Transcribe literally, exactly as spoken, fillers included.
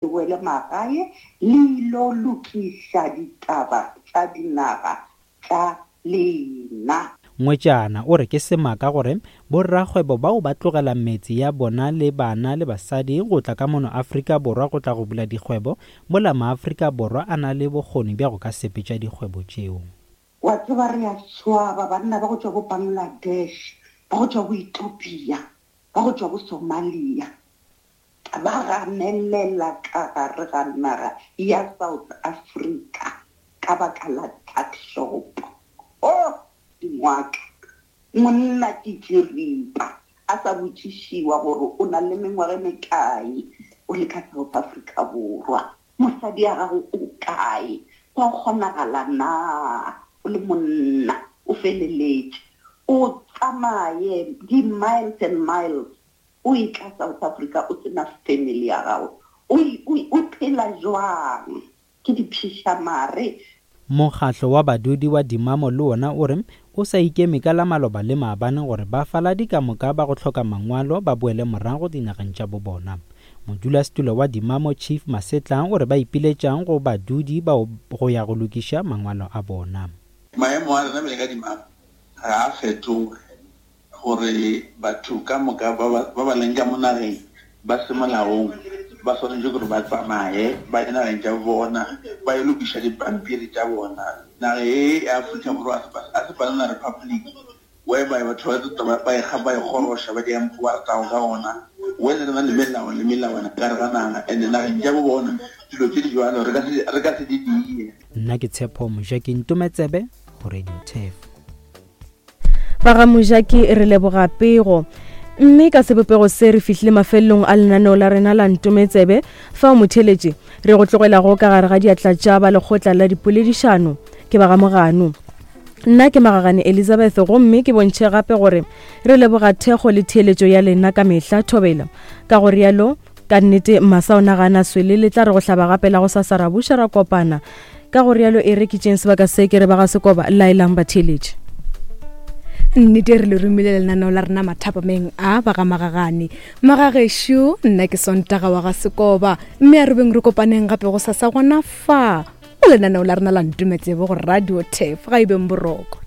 Boele magae le ilo lokiša ditaba tša dinaga tša lena. Ngwetšana o re ke semaka gore borrakgwebo bao ba tlogela metse ya bona le bana le basadi go tla ka mono Afrika Borwa go tla go bula dikgwebo, mola maAfrika Borwa a na le bokgoni bja go ka sepetša dikgwebo tšeo. Wa tseba re a swaba banna ba go tšwa bo Bangladesh, ba go tšwa bo Ethiopia, ba go tšwa bo Somalia, ba ganelela ka gare ga naga ya South Africa ka baka la tuck shop. Oh, dingwaka. Monna ke tširipa a sa botšišiwa gore o na le mengwaga e mekae o le ka South Africa Borwa. Mosadi ya gago o kae? Gwa kgonagala na o le monna o feleletše o tsamaye di-miles and miles o etla South Africa o sena family ya gago o o phela jwang ke diphišamare. Mokgatlo wa badudi wa Dimamo le wona o re o sa ikeme ka la maloba le maabane gore bafaladi ka moka ba go hloka mangwalo ba boele morago dinageng tša bobona. Modulasetulo wa Dimamo Chief Masetla o re ba ipiletšang go badudi bao go ya go lokiša mangwalo a bona. Maemo a rena bjale ka Dimamo ga a fetoge gore batho ka moka ba ba leng ka mo nageng ba se molaong ba swanetše gore ba tsamaye ba ye nageng tša bona ba ye lokiša dipampiri tša bona. Naga ye ya Afrika Borwa a se banana republic whereby batho ba ba e ba e kgoroša ba di ba ratago ka gona, whether re na le melao le melawana ka gare ga naga and nageng tša bo bona dilo tše di jwalo re ka se re ka se di die. Nna ke Tshepo Mojaki Ntometsebe go Radio Turf. Ba ga Mojaki re leboga pego. Mme ka sebopego se re fihlile mafelelong a lenaneo la rena la Ntometsebe, fao motheletše re go tlogelago ka gare ga diatla tša ba lekgotla la dipoledišano ke ba ga Mogano. Nna ke Magagane Elizabeth gomme ke bontšhe gape gore re leboga thekgo le theeletšo ya lena ka mehla thobela. Ka go rialo ka nnete masa o nagana swele le tla re go hlaba gape la go sasa ra buša ra kopana. Ka go rialo e re ke tšeng sebaka se ke re ba ga Sekoba laelang batheeletše. Nnete re le romile lenaneo la rena mathapameng a ba ga Magagane. Magagešo, nna ke Sontaga wa ga Sekoba, mme a re beng re kopaneng gape go sasa gona fa go lenaneo la rena la Ntometsebe go Radio Turf. Ga e beng boroko.